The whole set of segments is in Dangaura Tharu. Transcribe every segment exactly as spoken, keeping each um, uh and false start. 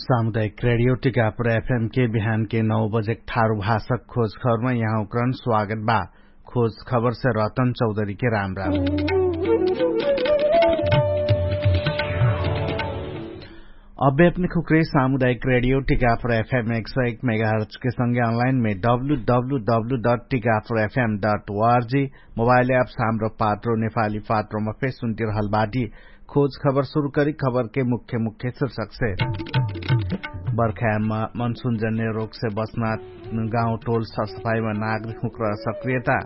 सामुदायिक रेडियो टिकापुर एफएम के बिहान के नौ बजे ठारु भाषक खोज खबरमा यहाँ उक्रन स्वागत बा। खोज खबर से रतन चौधरी के राम राम। अबे अपने खुक्रे सामुदायिक रेडियो टिकापुर एफएम एक सौ एक मेगाहर्ट्ज के संगे अनलाइन में W W W dot Tikapur FM dot ORG mobile app साम्रो पात्रो नेपाली पात्रोमा फेस सुन्टिरहल बाटी। खोज खबर सुरु करी खबर के मुख्य मुख्य शीर्षक से। बर्खायाममा मनसुन जन्य रोग से बस्ना गाउँ टोल सरसफाईमा नागरिक हुँक्र सक्रियता।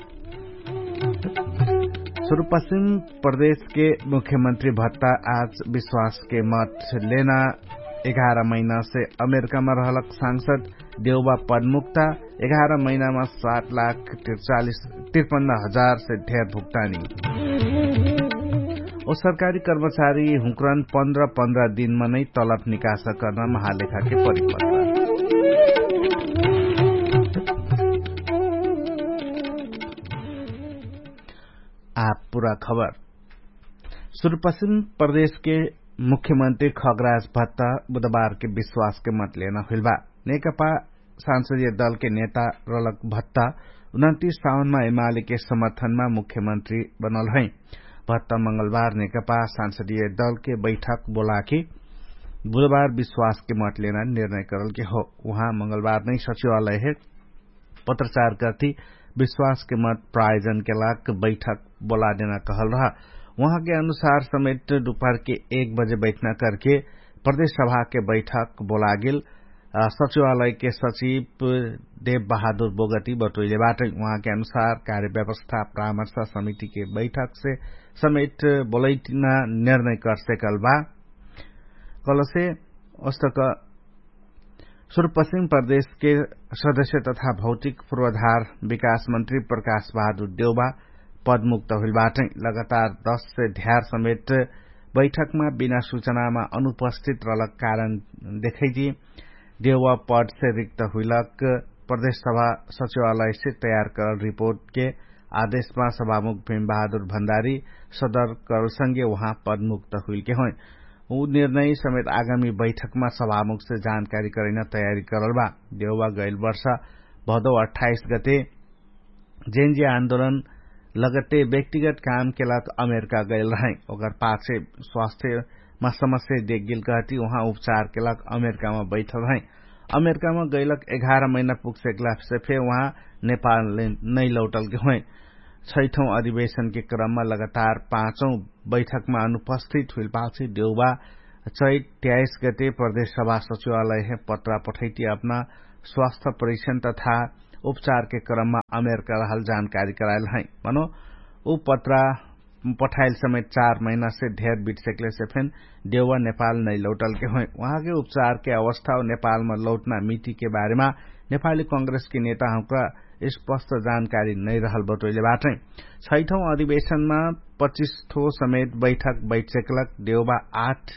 सुरुपश्चिम प्रदेश के मुख्यमन्त्री भत्ता आज विश्वास के मत लेना। एघार महिना से अमेरिकामा रहलक सांसद देउबा पदमुक्ता। एघार महिनामा सात लाख त्रिचालिस त्रिपन्न हजार से धेर भुक्तानी। ओ सरकारी कर्मचारी हुँक्रन पन्ध्र पन्ध्र दिनमा नै तलब निकास कर्न महालेखाके परिपत्र। आप पुरा खबर। सुरुपश्चिम प्रदेशके मुख्यमन्त्री खगराज भत्ता बुधबारके विश्वासके मत लेना हुइलबा। नेकपा सांसदीय दलके नेता रलक भत्ता उनन्तिस साउनमा एमालेके समर्थनमा मुख्यमन्त्री बनल है। भत्ता मंगलबार नेकपा सांसदीय दलके बैठक बोलाके बुधबार विश्वासके मत लेना निर्णय करलके हो। उहाँ मंगलबार नै सचिवालय हे पत्रचार करती विश्वासके मत प्रायोजनके लाग बैठक बोलादेना कहल रहा। उहाँके अनुसार समेत दुपहरके एक बजे बैठना करके प्रदेश सभाके बैठक बोलागेल सचिवालयके सचिव देव बहादुर बोगती बटोइले बाटै। उहाँके अनुसार कार्यव्यवस्था परामर्श समितिके बैठकसे समेत बोलैटिना निर्णय करसेकल बा। कलसे ओस्तक सुरुपश्चिम प्रदेशके सदस्य तथा भौतिक पूर्वाधार विकास मन्त्री प्रकाश बहादुर देउबा पदमुक्त हुइल बाटै। लगातार दस से ध्यार समेत बैठकमा बिना सूचनामा अनुपस्थित रहलक कारण देखैजी देउबा पदसे रिक्त हुइलक प्रदेश सभा सचिवालयसे तयार करल रिपोर्टके आदेशमा सभामुख भीम बहादुर भण्डारी सदर करलसँगे उहाँ पदमुक्त हुइलके होइ। उ निर्णय समेत आगामी बैठकमा सभामुखसे जानकारी करैना तयारी करल बा। देउबा गैल वर्ष भदौ अट्ठाइस गते जेन्जी आन्दोलन लगते व्यक्तिगत कामके लाग अमेरिका गैल रहै। ओकर पाछे स्वास्थ्यमा समस्या देखगेल कहती उहाँ उपचारके लाग अमेरिकामा बैठल रहै। अमेरिकामा गैलक एघार महिना पुगसेकलासे फेर उहाँ नेपाल नै लौटलके होइ। छैठौँ अधिवेशनके क्रममा लगातार पाँचौँ बैठकमा अनुपस्थित हुइल पाछे देउबा चैत त्याइस गते प्रदेश सभा सचिवालय हे पत्रा पठैती अपना स्वास्थ्य परीक्षण तथा उपचारके क्रममा अमेरिका रहल जानकारी कराइल है। मनो उ पत्रा पठाइल समेत चार महिनासे धेर बिटसेकलेसे फेन देउबा नेपाल नै लौटलके होइ। उहाँके उपचारके अवस्था नेपालमा लौटना मितिके बारेमा नेपाली कांग्रेसके नेताहुँका स्पष्ट जानकारी नै रहल बटोइले बाटै। छैठौँ अधिवेशनमा पच्चिस ठो समेत बैठक बैठसेकलक देउबा आठ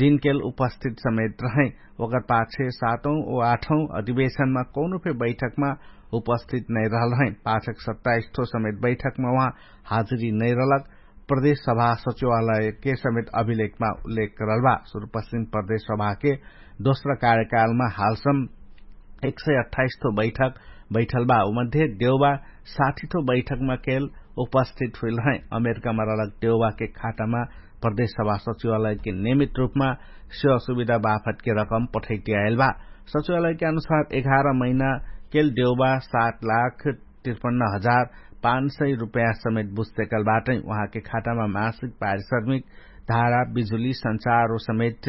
दिनकेल उपस्थित समेत रहै। ओकर पाछे सातौँ ओ आठौँ अधिवेशनमा कौनो फे बैठकमा उपस्थित नै रहल रहै। पाछक सत्ताइस ठो समेत बैठकमा उहाँ हाजिरी नै रहलक प्रदेश सभा सचिवालयके समेत अभिलेखमा उल्लेख करल बा। सुरुपश्चिम प्रदेश सभाके दोस्रा कार्यकालमा हालसम एक सय अट्ठाइस ठो बैठक बैठल बा। उमध्ये देउबा साठी ठो बैठकमा केल उपस्थित हुइल रहै। अमेरिकामा रहलक देउबाके खातामा प्रदेश सभा सचिवालयके नियमित रूपमा सेवा सुविधा बाफतके रकम पठैतियाएल बा। सचिवालयके अनुसार एघार महिना केल देउबा सात लाख त्रिपन्न हजार पाँच सय रुपैयाँ समेत बुझतेकल बाटै। उहाँके खातामा मासिक पारिश्रमिक धारा बिजुली संचार ओ समेत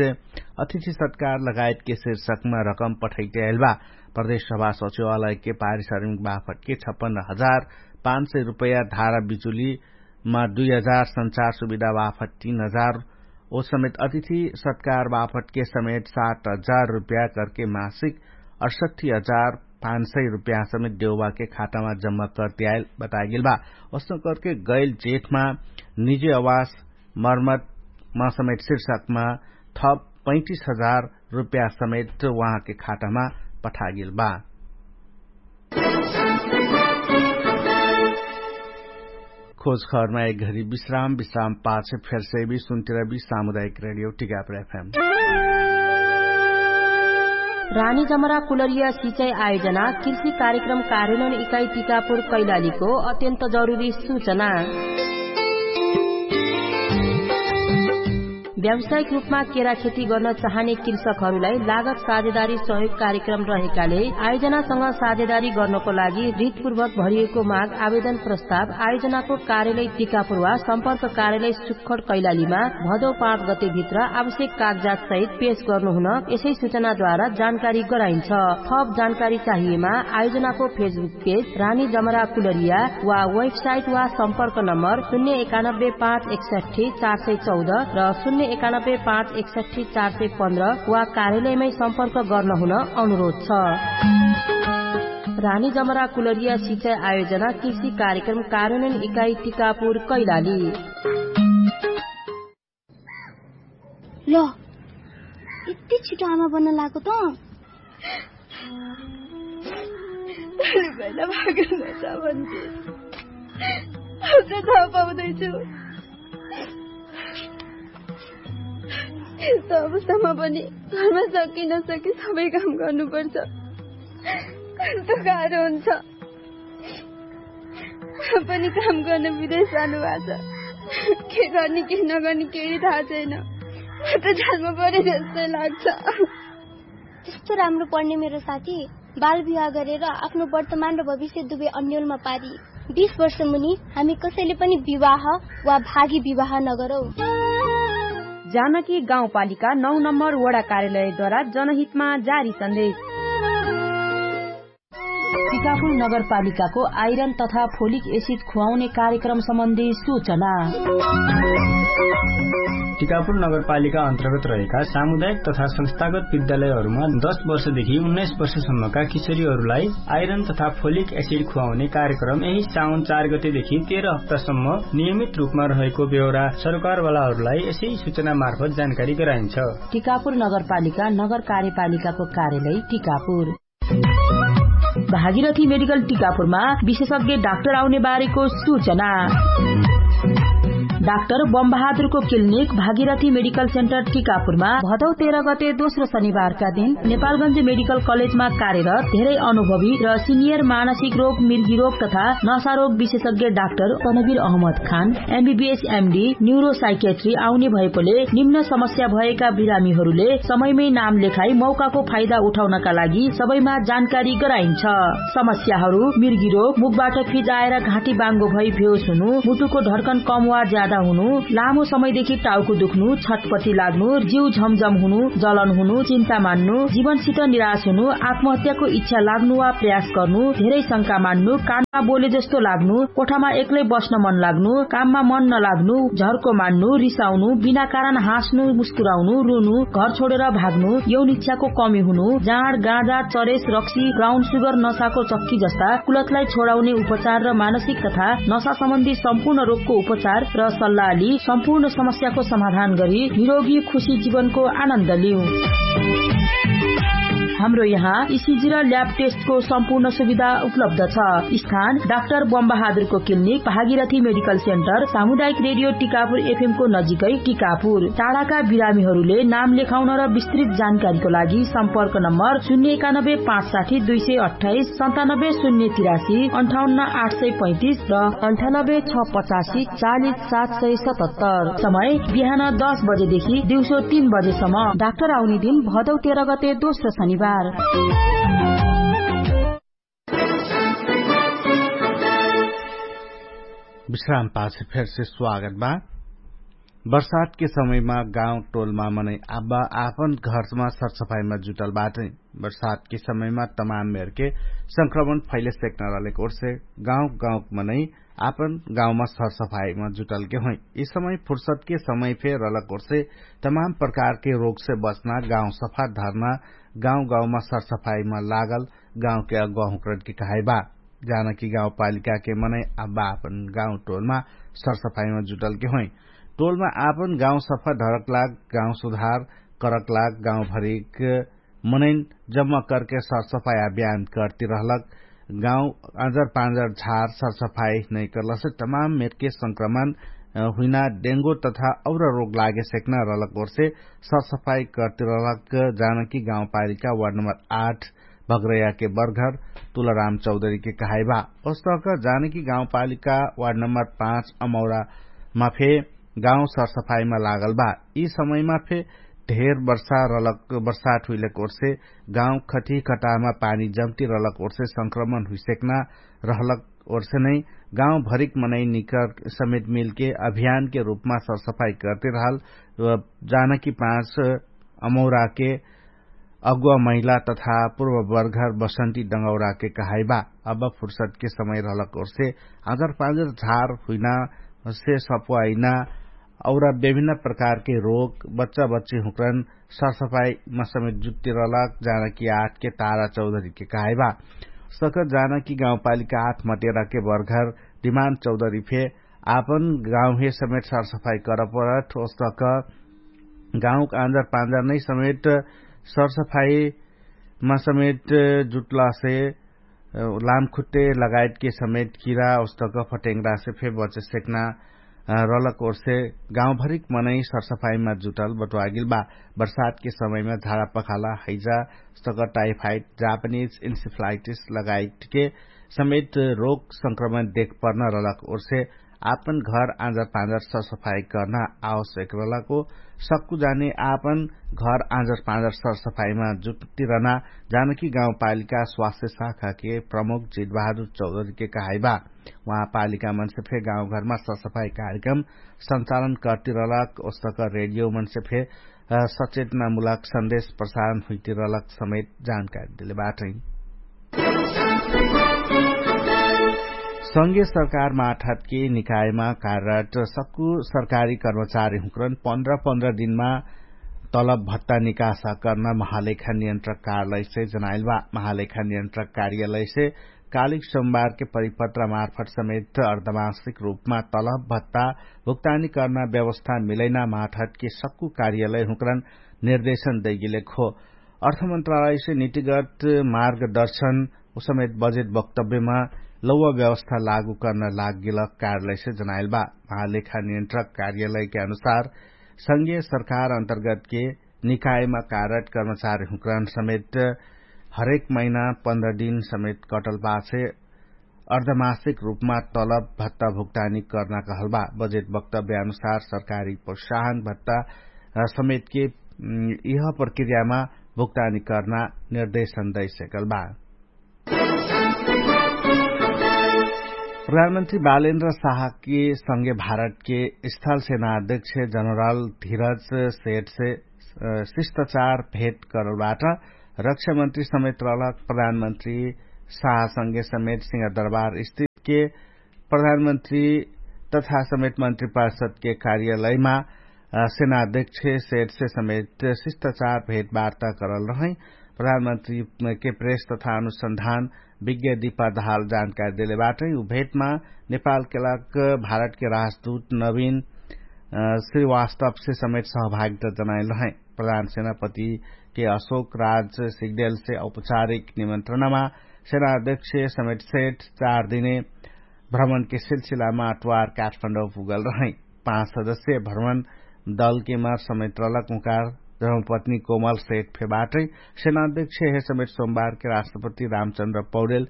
अतिथि सत्कार लगायतके शीर्षकमा रकम पठैतियाएल बा। प्रदेश सभा सचिवालयके पारिश्रमिक बाफतके छप्पन्न हजार पाँच सय रुपैयाँ धारा बिजुलीमा दुई हजार संचार सुविधा बाफत तीन हजार ओ समेत अतिथि सत्कार बाफतके समेत सात हजार रुपैयाँ करके मासिक अठसट्ठी हजार पाँच सय रुपैयाँ समेत देउबाके खातामा जम्मा करतियाएल बतागेल बा। ओसनो करके गैल जेठमा निजी आवास मर्मतमा समेत शीर्षकमा थप पैँतिस हजार रुपैयाँ समेत उहाँके खातामा पठागेल बा। खोज खबरमा एक घरी विश्राम विश्राम पाछ फेरसे भी सुन्तिरबी सामुदायिक रेडियो टिकापुर एफएम। रानी जमरा कुलरिया सिचाई आयोजना कृषि कार्यक्रम कार्यनोन इकाई टिकापुर कैलालीको अत्यन्त जरुरी सूचना। व्यावसायिक रूपमा केरा खेती गर्न चाहने कृषकहरूलाई लागत साझेदारी सहयोग कार्यक्रम रहेकाले आयोजनासँग साझेदारी गर्नको लागि हृदपूर्वक भरिएको माग आवेदन प्रस्ताव आयोजनाको कार्यालय टिकापुर वा सम्पर्क कार्यालय सुक्खर कैलालीमा भदौ पाँच गते भित्र आवश्यक कागजात सहित पेश गर्नुहुन यसै सूचनाद्वारा जानकारी गराइन्छ। थप जानकारी चाहिएमा आयोजनाको फेसबुक पेज रानी जमरा कुलरिया वा वेबसाइट वा सम्पर्क नम्बर शून्य एकानब्बे पाँच एकसठी चार सय चौध र शून्य एकानब्बे पाँच एकसठी चार सय पन्ध्र वा कार्यालयमै सम्पर्क गर्नहुन अनुरोध छ। रानी जमरा कुलरिया सिचाई आयोजना कृषि कार्यक्रम कार्यनोन इकाई टिकापुर कैलाली। ल, यति छिटो आमा बन्न लागेको त? भैला भागेर नजा भन्थे। अब चाहिँ थाहा पाउँदैछु। यस्तो अवस्थामा पनि घरमा सकी नसकी सबै काम गर्नुपर्छ। कस्तो गाह्रो हुन्छ। पनि काम गर्न विदेश जानुभएको छ। के गर्ने के नगर्ने केही थाहा छैन। म त जान्नु पर्यो जस्तै लाग्छ। त्यस्तो राम्रो पढ्ने मेरो साथी बाल विवाह गरेर आफ्नो वर्तमान र भविष्य दुवै अन्यलमा पारी। बिस वर्ष मुनि हामी कसैले पनि विवाह वा भागी विवाह नगरौँ। जानकी गाउँपालिका नौ नम्बर वडा कार्यालयद्वारा जनहितमा जारी सन्देश। टिकापुर नगरपालिकाको आइरन तथा फोलिक एसिड खुवाउने कार्यक्रम सम्बन्धी सूचना। टिकापुर नगरपालिका अन्तर्गत रहेका सामुदायिक तथा संस्थागत विद्यालयहरूमा दस वर्षदेखि उन्नाइस वर्षसम्मका किशोरीहरूलाई आइरन तथा फोलिक एसिड खुवाउने कार्यक्रम यही साउन चार गतेदेखि तेह्र हप्तासम्म नियमित रूपमा रहेको बेहोरा सरकारवालाहरूलाई यसै सूचना मार्फत जानकारी गराइन्छ। टिकापुर नगरपालिका नगर कार्यपालिकाको कार्यालय टिकापुर। भागीरथी मेडिकल टिकापुरमा विशेषज्ञ डाक्टर आउने बारेको सूचना। डाक्टर बमबहादुरको क्लिनिक भागीरथी मेडिकल सेन्टर टिकापुरमा भदौ तेह्र गते दोस्रो शनिबारका दिन नेपालगञ्ज मेडिकल कलेजमा कार्यरत धेरै अनुभवी र सिनियर मानसिक रोग मिर्गी रोग तथा नशा रोग विशेषज्ञ डाक्टर तनवीर अहमद खान एमबीबीएस एमडी न्युरोसाइकेट्री आउने भएकोले निम्न समस्या भएका बिरामीहरूले समयमै नाम लेखाई मौकाको फाइदा उठाउनका लागि सबैमा जानकारी गराइन्छ। समस्याहरू मिर्गी रोग मुखबाट फिजाएर घाँटी बाङ्गो भई भेउस हुनु मुटुको ढर्कन कम वा ज्यादा हुनु लामो समयदेखि टाउको दुख्नु छटपटी लाग्नु जिउ झमझम हुनु जलन हुनु चिन्ता मान्नु जीवनसित निराश हुनु आत्महत्याको इच्छा लाग्नु वा प्रयास गर्नु धेरै शंका मान्नु कानमा बोले जस्तो लाग्नु कोठामा एक्लै बस्न मन लाग्नु काममा मन नलाग्नु झर्को मान्नु रिसाउनु बिना कारण हाँस्नु मुस्कुराउनु रुनु घर छोडेर भाग्नु यौन इच्छाको कमी हुनु जाँड गाँजा चरेस रक्सी ब्राउन सुगर नसाको चक्की जस्ता कुलतलाई छोडाउने उपचार र मानसिक तथा नसा सम्बन्धी सम्पूर्ण रोगको उपचार र सल्लाहली सम्पूर्ण समस्याको समाधान गरी निरोगी खुशी जीवनको आनन्द लिउ। हाम्रो यहाँ इसिजी र ल्याब टेस्टको सम्पूर्ण सुविधा उपलब्ध छ। स्थान डाक्टर बमबहादुरको क्लिनिक भागीरथी मेडिकल सेन्टर सामुदायिक रेडियो टिकापुर एफएमको नजिकै टिकापुर। टाढाका बिरामीहरूले नाम लेखाउन र विस्तृत जानकारीको लागि सम्पर्क नम्बर शून्य एकानब्बे पाँच साठी दुई सय अठाइस सन्तानब्बे शून्य तिरासी अन्ठाउन्न आठ सय पैँतिस र अन्ठानब्बे छ पचासी चालिस सात सय सतहत्तर। समय बिहान दस बजेदेखि दिउँसो तीन बजेसम्म। डाक्टर आउने दिन भदौ तेह्र गते दोस्रो शनिबार। विश्राम पाछे फेरसे स्वागत बा। बर्सातके समयमा गाउँ टोलमा मनै आब्बा आपन घरमा सरसफाइमा जुटल बाटै। बर्सातके समयमा तमाम मेरके संक्रमण फैले सेक्न रहलेक ओर्से गाउँ गाउँक मनै आपन गाउँमा सरसफाइमा जुटलके होइ। यि समय फुर्सतके समय फे रहलक ओर्से तमाम प्रकारके रोगसे बच्ना गाउँ सफा धर्ना गाउँ गाउँमा सरसफाइमा लागल गाउँके अगुवा हुँक्रटके कहाइबा। जानकी गाउँपालिकाके मनै आब्बा आपन गाउँ टोलमा सरसफाइमा जुटलके होइ। टोलमा आपन गाउँ सफा धरक लाग गाउँ सुधार करक लाग गाउँभरिक मनैन जम्मा करके सरसफाइ अभियान करती रहलक। गाउँ अजर पाँजर झार सरसफाइ नै करलसे तमाम मेरके संक्रमण हुइना डेङ्गो तथा और रोग लागे सेक्ना रहलक ओर्से सरसफाई करती रहलक। जानकी गाउँपालिका वार्ड नम्बर आठ भग्रैयाके बर्घर तुलराम चौधरीके कहाइबा। ओस्तक जानकी गाउँपालिका वार्ड नम्बर पाँच अमौरामा फे गाउँ सरसफाईमा लागल बा। यि समयमा फे ढेर वर्षा रहलक वर्षाट हुइलक ओर्से गाउँ खटिकटामा पानी जम्ती रहलक ओर्से संक्रमण हुइसेक्ना रहलक ओर्से नै गाउँ भरिक मनै निकर समेत मिलके अभियानके रूपमा सरसफाई करते रहल। जानकी पाँच अमौराके अगुवा महिला तथा पूर्व बर्घर बसन्ती डङ्गौराके कहाइबा। अब फुर्सदके समय रहलक ओर्से आँजर पाँजर झार हुइना से सप्वाइना और विभिन्न प्रकारके रोग बच्चा बच्ची हुँक्रन सरसफाईमा समेत जुट्टी रहलक। जानकी आठके तारा चौधरीके कहाइबा। सक जानकी गाउँपालिका आठ मटेराके बर्घर डिमान्ड चौधरी फे आपन गाउँहे समेट सरसफाई करपरठ ओस्तक गाउँक आँजर पाँजर नै समेट सरसफाईमा समेट जुट्लासे लामखुट्टे लगायतके समेट किरा ओस्तक फटेङ्ग्रासे फे बचे सेक्ना रहलक ओर्से गाउँभरिक मनै सरसफाईमा जुटल बटुवागिल बा। बर्सातके समयमा झाडा पखाला हैजा ओस्तक टाइफाइट जापानिज इन्सिफ्लाइटिस लगायतके समेत रोग संक्रमण देखपर्न रहलक ओर्से आपन घर आँजर पाँजर सरसफाई कर्ना आवश्यक रहलक हो। सक्कु जाने आपन घर आँजर पाँजर सरसफाईमा जुट्टी रहना जानकी गाउँपालिका स्वास्थ्य शाखाके प्रमुख जितबहादुर चौधरीके कहाइबा। उहाँ पालिका मनसे फे गाउँघरमा सरसफाई कार्यक्रम सञ्चालन कर्ती रहलक ओस्तक रेडियो मनसे फे सचेतनामुलक सन्देश प्रसारण हुइती रहलक समेत जानकारी देले बाटै। संघीय सरकार माठहतके निकायमा कार्यरत सक्कु सरकारी कर्मचारी हुँक्रन पन्ध्र पन्ध्र दिनमा तलब भत्ता निकासा कर्ना महालेखा नियन्त्रक कार्यालयसे जनाइल बा। महालेखा नियन्त्रक कार्यालयसे कालिक सोमबारके परिपत्र मार्फत समेत अर्धमासिक रूपमा तलब भत्ता भुक्तानी कर्ना व्यवस्था मिलैना माठहतके सक्कु कार्यालय हुँक्रन निर्देशन दैगिलेक हो। अर्थमन्त्रालयसे नितिगत मार्गदर्शन उसमेत बजेट वक्तव्यमा लौवा व्यवस्था लागू कर्न लागगिलक कार्यालयसे जनाइल बा। महालेखा नियन्त्रक कार्यालयके अनुसार संघीय सरकार अन्तर्गतके निकायमा कार्यरत कर्मचारी हुँक्रान समेत हरेक महिना पन्ध्र दिन समेत कटल पाछे अर्धमासिक रूपमा तलब भत्ता भुक्तानी कर्ना कहल बा। बजेट वक्तव्य अनुसार सरकारी प्रोत्साहन भत्ता समेतके यह प्रक्रियामा भुक्तानी कर्ना निर्देशन दैसकल बा। प्रधानमन्त्री बालेन्द्र साहके संगे भारतके स्थल सेना अध्यक्ष जनरल धिरज सेठसे शिष्टाचार भेट करलबाट रक्षामन्त्री समेत रहलक। प्रधानमन्त्री साहसंगे समेत सिंह दरबार स्थितके प्रधानमन्त्री तथा समेत मन्त्री परिषदके कार्यालयमा सेना अध्यक्ष सेठसे समेत शिष्टाचार भेटवार्ता करल रहै। प्रधानमन्त्रीके प्रेस तथा अनुसन्धान विज्ञ दिपा दहाल जानकारी देले बाटै। उ भेटमा नेपालके लाग भारतके राजदूत नवीन श्रीवास्तवसे समेत सहभागिता जनाइल रहै। प्रधान सेनापतिके अशोक राज सिग्देलसे औपचारिक निमन्त्रणामा सेनाध्यक्ष समेत सेठ चार दिने भ्रमणके सिलसिलामा अट्वार काठमाडौँ पुगल रहै। पाँच सदस्य भ्रमण दलके मार समेत रहलक उकार धर्मपत्नी कोमल सेठ फेबाटै। सेनाध्यक्ष हे समेत सोमबारके राष्ट्रपति रामचन्द्र पौडेल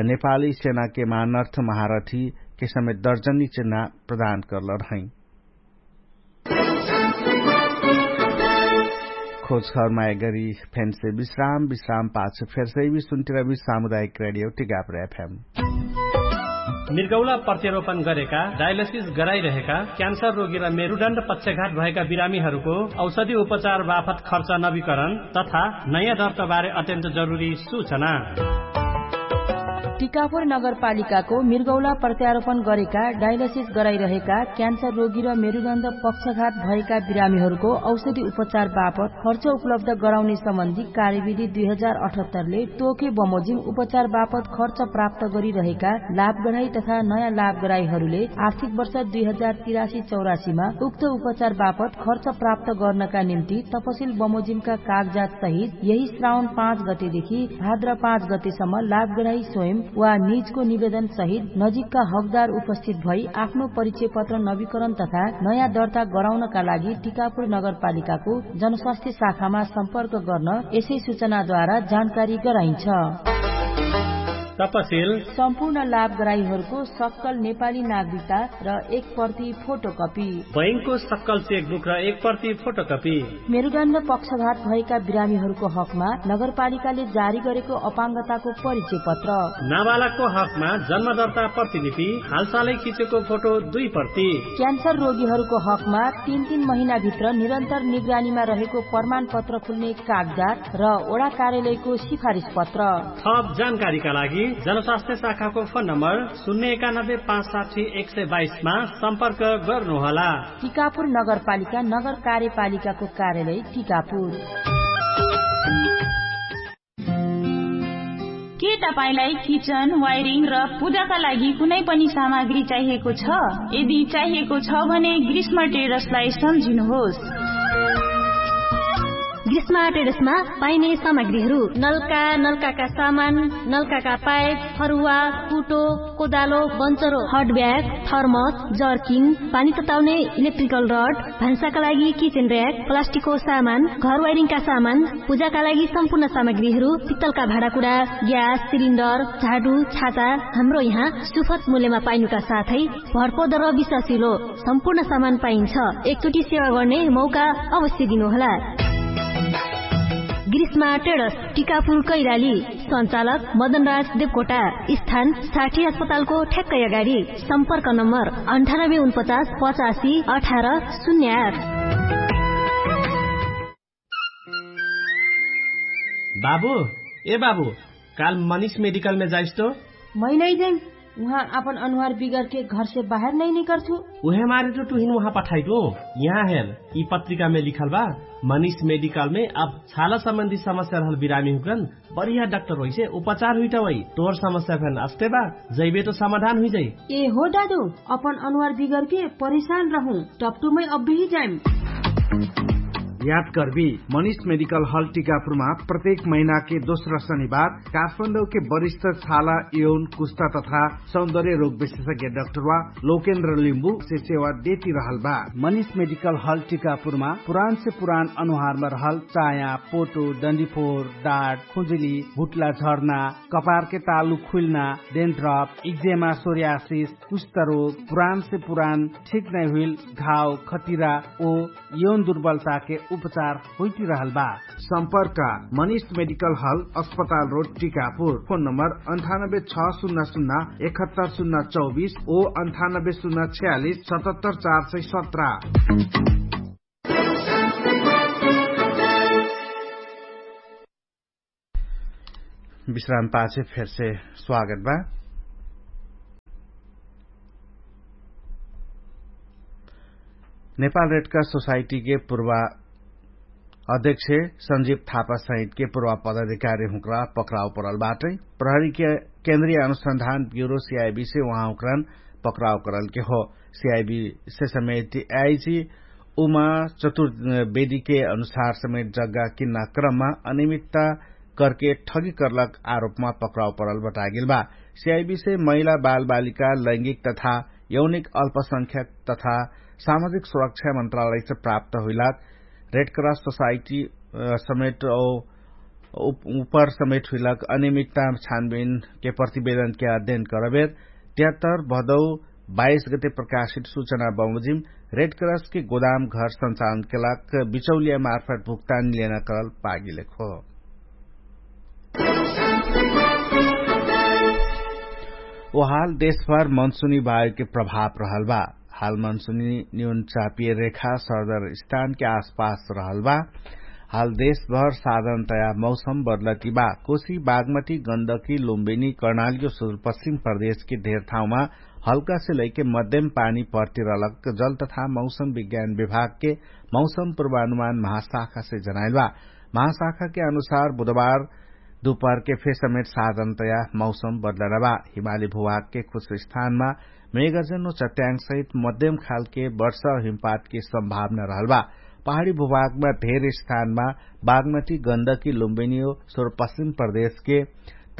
नेपाली सेनाके मानर्थ महारथीके समेत दर्जनी चिन्हा प्रदान करल रहै। खोजखबरमा एगरी फेन्से विश्राम विश्राम पाछ फेर्सै विश्वन्तिरबी सामुदायिक रेडियो टिकाप्र एफएम। मिर्गौला प्रत्यारोपण गरेका डायलसिस गराइरहेका क्यान्सर रोगी र मेरुडण्ड पक्षघात भएका बिरामीहरूको औषधि उपचार बाफत खर्च नवीकरण तथा नयाँ दर्तबारे अत्यन्त जरुरी सूचना। टिकापुर नगरपालिकाको मिर्गौला प्रत्यारोपण गरेका डायलसिस गराइरहेका क्यान्सर रोगी र मेरुदण्ड पक्षघात भएका बिरामीहरूको औषधि उपचार बापत खर्च उपलब्ध गराउने सम्बन्धी कार्यविधि दुई हजार अठहत्तरले तोके बमोजिम उपचार बापत खर्च प्राप्त गरिरहेका लाभग्राही तथा नयाँ लाभग्राहीहरूले आर्थिक वर्ष दुई हजार तिरासी चौरासीमा उक्त उपचार बापत खर्च प्राप्त गर्नका निम्ति तपसिल बमोजिमका कागजात सहित यही श्रावण पाँच गतेदेखि भाद्र पाँच गतेसम्म लाभग्राही स्वयं वा निजको निवेदन सहित नजिकका हकदार उपस्थित भई आफ्नो परिचय पत्र नवीकरण तथा नयाँ दर्ता गराउनका लागि टिकापुर नगरपालिकाको जनस्वास्थ्य शाखामा सम्पर्क गर्न यसै सूचनाद्वारा जानकारी गराइन्छ। तपसिल। सम्पूर्ण लाभग्राहीहरूको सक्कल नेपाली नागरिकता र एक प्रति फोटोकपी। बैंकको सक्कल चेकबुक र एक प्रति फोटोकपी। मेरुदण्ड पक्षघात भएका बिरामीहरूको हकमा नगरपालिकाले जारी गरेको अपाङ्गताको परिचय पत्र। नाबालकको हकमा जन्मदर्ता प्रतिलिपि, हालसालै खिचेको फोटो दुई प्रति। क्यान्सर रोगीहरूको हकमा तीन तीन महिनाभित्र निरन्तर निगरानीमा रहेको प्रमाणपत्र खुल्ने कागजात र वडा कार्यालयको सिफारिस पत्र। थप जानकारीका लागि जनस्वास्थ्य शाखाको फोन नम्बर शून्य एकानब्बे पाँच साठी एक सय बाइसमा सम्पर्क गर्नुहोला। टिकापुर नगरपालिका, नगर कार्यपालिकाको कार्यालय टिकापुर। के तपाईंलाई किचन, वायरिङ र पूजाका लागि कुनै पनि सामग्री चाहिएको छ? यदि चाहिएको छ भने ग्रीष्म ट्रेडर्सलाई सम्झिनुहोस्। ग्रीष्म ट्रेडर्समा पाइने सामग्रीहरू: नलका, नलकाका सामान, नलकाका पाइप, फरुवा, कुटो, कोदालो, बन्चरो, हट ब्याग, थर्मस, जर्किन, पानी तताउने इलेक्ट्रिकल रड, भान्साका लागि किचन र्‍याक, प्लास्टिकको सामान, घर वायरिङका सामान, पूजाका लागि सम्पूर्ण सामग्रीहरू, पित्तलका भाँडाकुँडा, ग्यास सिलिन्डर, झाडु, छाता, हाम्रो यहाँ सुपथ मूल्यमा पाइनुका साथै भरपर्दो र विश्वासिलो सम्पूर्ण सामान पाइन्छ। एकचोटि सेवा गर्ने मौका अवश्य दिनुहोला। ग्रीष्मा ट्रेडर्स, टिकापुर कैलाली। सञ्चालक मदनराज देवकोटा। स्थान साठी अस्पतालको ठ्याक्कै अगाडि। सम्पर्क नम्बर अन्ठानब्बे उनपचास पचासी अठार शून्य आठ। बाबु, ए बाबु, काल मनिष मेडिकलमे जाइस तो? मै नै जाइम। उहाँ आपन अनुहार बिगरके घरसे बाहेर नै निकर्छु। उहे मारे तो टुहिन उहाँ पठाइटु। यहाँ हेर, यि पत्रिकामे लिखल बा, मनिष मेडिकलमे अब छाला सम्बन्धी समस्या रहल बिरामी हुकन बढ़िया डाक्टर होइसे उपचार हुइटा वइ। तोर समस्या फेन अस्ते बा, जैबे तो समाधान हुइजाइ। ए हो दादु, अपन अनुहार बिगरके परेशान रहु, टपटुमै अब्बेही जाइम। याद करबी, मनिष मेडिकल हल टिकापुरमा प्रत्येक महिनाके दोस्रा शनिबार काठमाडौके वरिष्ठ छाला यौन कुस्ता तथा सौन्दर्य रोग विशेषज्ञ डाक्टरवा लोकेन्द्र लिम्बु से सेवा देती रहल बा। मनिष मेडिकल हल टिकापुरमा पुरान से पुरान अनुहारमा रहल चाया, पोटो, डन्डीफोर, डाट, खुजुली, भुट्ला झर्ना, कपारके तालु खुइल्ना, डेन्ड्रप, इक्जेमा, सोर्यासिस, कुष्ठरोग, पुरान से पुरान ठिक नै हुइल घाव, खटिरा ओ यौन दुर्बलताके उपचार होइती रहल बा। सम्पर्क मनिष मेडिकल हल, अस्पताल रोड, टिकापुर। फोन नम्बर अन्ठानब्बे छ सुन्ना सुन्ना एकहत्तर सुन्ना चौबिस ओ अन्ठानब्बे सुन्ना छयालिस सतहत्तर चार सय सत्र। विश्राम पाछे फेरसे स्वागत बा। नेपाल रेडक्रस सोसाइटीके पूर्वा अध्यक्ष संजीव थापा सहितके पूर्वा पदाधिकारी हुँक्रा पक्राउ परल बाटै। प्रहरीके केन्द्रीय अनुसन्धान ब्युरो सिआइबीसे उहाँ हुँक्रान पक्राउ करलके हो। सिआइबीसे समेत आइजी उमा चतुर्वेदीके अनुसार समेत जग्गा किन्ना क्रममा अनियमित्ता करके ठगी करलक आरोपमा पक्राउ परल बटागेल बा। सिआइबीसे महिला बालबालिका लैंगिक तथा यौनिक अल्पसंख्यक तथा सामाजिक सुरक्षा मन्त्रालयसे प्राप्त हुइलक रेडक्रस सोसाइटी समेत उपर समेत हुइलक अनियमित्ता छानबिनके प्रतिवेदनके अध्ययन करबेर त्यात्तर भदौ बाइस गते प्रकाशित सूचना बमोजिम रेडक्रसके गोदाम घर सञ्चालनके लाग बिचौलिया मार्फत भुक्तान लेना करल पागिलेक हो। ओ हाल देशभर मनसुनी वायुके प्रभाव रहल बा। हाल मनसुनी न्यून चापिय रेखा सरदर स्थानके आसपास रहल बा। हाल देशभर साधनतया मौसम बदलती बा। कोशी बागमती गन्दकी लुम्बिनी कर्णालियो सुदूरपश्चिम प्रदेशके धेर ठाउँमा हल्कासे लैके मध्यम पानी पर्तिरलक जल तथा मौसम विज्ञान विभागके मौसम पूर्वानुमान महाशाखासे जनाइल बा। महाशाखाके अनुसार बुधबार दुपहरके फेर समेत साधनतया मौसम बदलना बा। हिमाली भुभागके कुछ स्थानमा मेगर्जन ओ चट्याङ्गसहित मध्यम खालके वर्ष हिमपातके सम्भावना रहल बा। पहाडी भुभागमा धेर स्थानमा बागमती गन्दकी लुम्बिनियो सुरपश्चिम प्रदेशके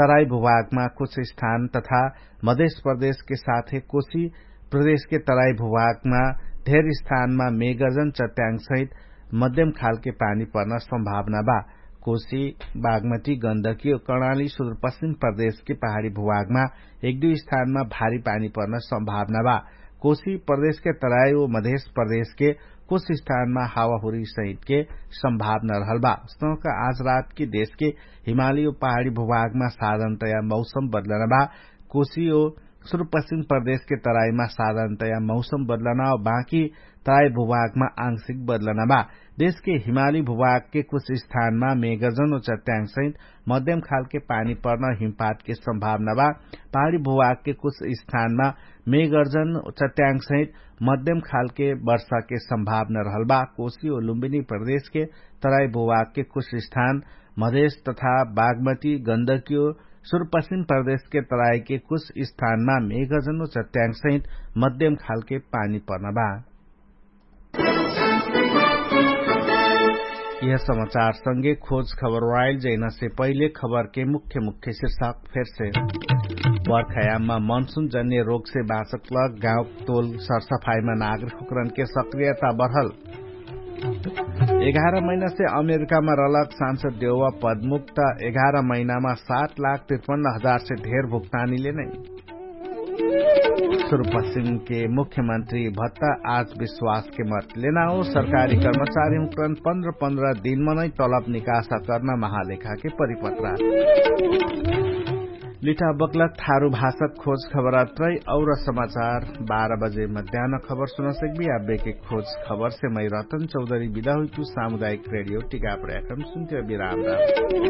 तराई भुभागमा कुछ स्थान तथा मधेश प्रदेशके साथे कोशी प्रदेशके तराई भुभागमा धेर स्थानमा मेगर्जन चट्याङसहित मध्यम खालके पानी पर्न सम्भावना बा। कोशी, बागमती, गन्दकी कर्णाली सुदूरपश्चिम प्रदेशके पहाडी भुभागमा एक दुई स्थानमा भारी पानी पर्न सम्भावना बा। कोशी प्रदेशके तराई ओ मधेश प्रदेशके कुछ स्थानमा हावाहुरी सहितके सम्भावना रहल बा। उस्तौका आज रातके देशके हिमाली ओ पहाडी भुभागमा साधनतया मौसम बदलना बा। कोशी ओ सुदूरपश्चिम प्रदेशके तराईमा साधनतया मौसम बदलना ओ बाँकी तराई भुभागमा आंशिक बदलना बा। देशके हिमाली भुभागके कुछ स्थानमा मेगर्जन ओ चट्याङसहित मध्यम खालके पानी पर्न हिमपातके सम्भावना बा। पहाडी भुभागके कुछ स्थानमा मेगर्जन चट्याङसहित मध्यम खालके वर्षाके सम्भावना रहल बा। कोशी ओ लुम्बिनी प्रदेशके तराई भुभागके कुछ स्थान मधेश तथा बागमती गन्दकियो सुदूरपश्चिम प्रदेशके तराईके कुछ स्थानमा मेगर्जन ओ चट्याङसहित मध्यम खालके पानी पर्न बा। यह समाचार संगे खोज खबर वाइल जैना से पहिले खबर के मुख्य मुख्य शीर्षक फेर से। बर्खायाममा मनसुन जन्य रोग से बाँचक लग गाउँ तोल सरसफाइमा नागरिक हुकरन के सक्रियता बढल। एघार महिना से अमेरिकामा रहलक सांसद देवा पदमुक्त एघार महिनामा सात लाख तिरपन्न हजार से ढेर भुक्तानीले नै। सुरु पश्चिमके मुख्यमन्त्री भत्ता आज विश्वासके मत लेना हो। सरकारी कर्मचारी हुँकरन पन्ध्र पन्ध्र दिनमनै तलब निकासा कर्ना महालेखाके परिपत्रा। लिठा बक्लक थारु भाषक खोज खबरात्रै और समाचार बाह्र बजे मध्यान खबर सुनसक्बी आब्बेके खोज खबरसे मै रतन चौधरी बिदा हुइतु। सामुदायिक रेडियो टिकाप्र एफएम सुन्त्य बिराम राम।